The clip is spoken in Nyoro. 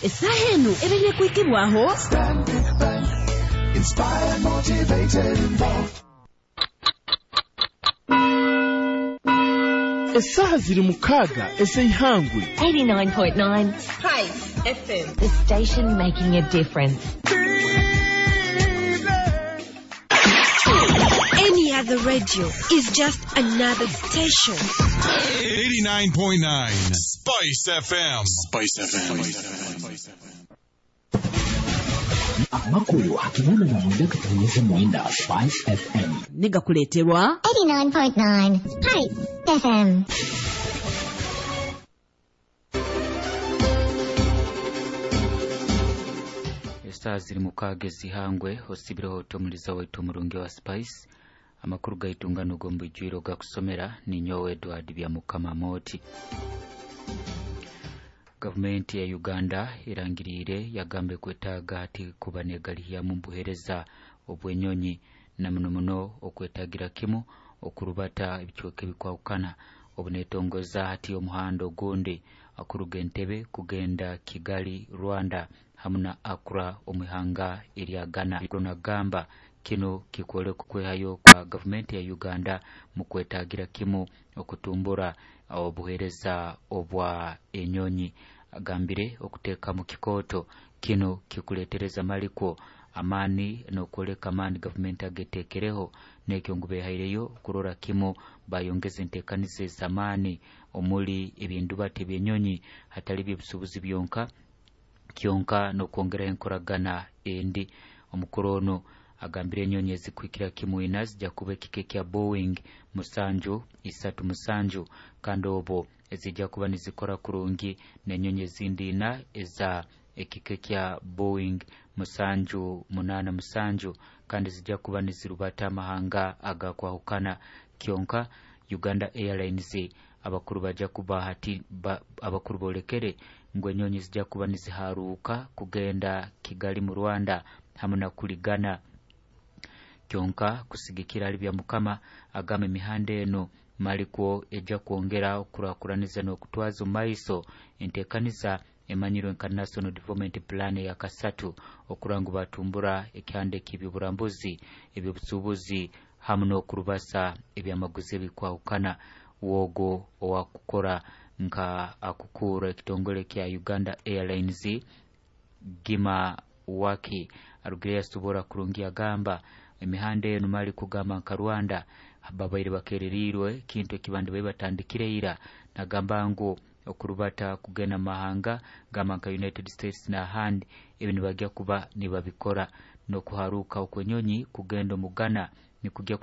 Essaaha enu ebaire kwikibwaho. Stanbic Bank. Inspired, motivated, involved. Essaaha ziri 6 ez'eihangwe. 89.9 Spice FM. The station making a difference. Any other radio is just another station. 89.9 Spice FM. Spice FM. Amakuru 889 Spice FM. Negakuleeterwa 89.9 Spice FM. Esaaha ziri 6 ezihangwe osibireho otomuliza waitu omurungi wa Spice. Amakuru gaitu ngano g'omubijwiro gakusomera ninyowe Edward Byamukama Moti. Gavumenti ya Uganda erangiriire yagambe kwetaaga hati kuba negalihyamu mbuhereza obwenyonyi na muno muno okwetagira kimu okurubata ebicweka ebikwahukana obunetongoza hati omuhanda ogundi akuruga Entebbe kugenda Kigali Rwanda hamu na Accra omwihanga erya Ghana. Nagamba kino kikwoleka okwehayo kwa gavumenti ya Uganda mu kwetagira kimu okutumbura obuhereza obwa enyonyi. Agambire okuteeka mu kikooto kino kikuletereza malikwo amaani n'okwoleka amaani gavumenti ageteekereho n'ekyo ngu behaireyo kurora kimu bayongeza enteekaniza ez'amaani omuli ebyendubata eby'enyonyi hatali by'obusuubuzi byonka kyonka n'okwongeraho enkoragana endi. Omukuru ono agambire enyonyi ezikuhikira kimu ina zijja kuba ekika ekya Boeing 737 kandi obwo ezijja kuba nizikora kurungi n'enyonyi ezindi ina eza ekika ekya Boeing 787 kandi zijja kuba nizirubata amahanga agakwahukana. Kyonka Uganda Airlines abakuru bajja kuba hati abakuru bolekere ngu enyonyi zijja kuba niziharuka kugenda Kigali mu Rwanda hamu na kuligana. Kyonka kusigikira ali bya Mukama agamba emihanda eno malikwo ejja kwongera okukurakuraniza n'okutwaza omu maiso enteekaniza emanyirwe nka National Development Plan ya kasatu okurora ngu batumbura ekihanda eky'ebyoburambuzi, ebyobusuubuzi hamu n'okurubasa ebyamaguzi ebikwahukana. Wogo owakukora nka akukuura ekitongole kya Uganda Airlines Gima Waki arugire yasobora kurungi agamba emihanda eno mali kugamba nka Rwanda babaire bakererirwe kintu ekibandi babe batandikire ira. Nagamba ngu okurubata kugenda mahanga gamba nka United States n'ahandi ebi nibajya kuba nibabikora n'okuharuka okwenyonyi kugenda omu Ghana nikujya.